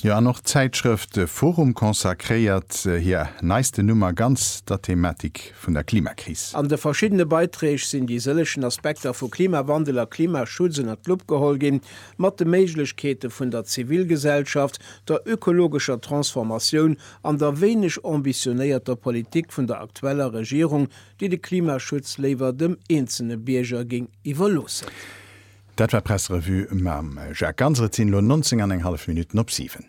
Klimaschutz. Jo, an och d'Zäitschrëft Forum consacréiert hir neisten Nummer ganz der Thematik vun der Klimakris. An de verschiddene Beiträg sinn déi sëllegen Aspekter vu Klimawandel a Klimaschutz ënnert d'Lupp geholl ginn, mat de Méiglechkeete vun der Zivilgesellschaft, der ökologescher Transformatioun an der wéineg ambitionéierter Politik vun der aktueller Regierung, déi de Klimaschutz léiwer dem eenzelne Bierger géing iwwerloossen. Dat war d'Presserevue mam Jacques Ganser. Et sinn elo 19 an eng hallef Minutten op 7.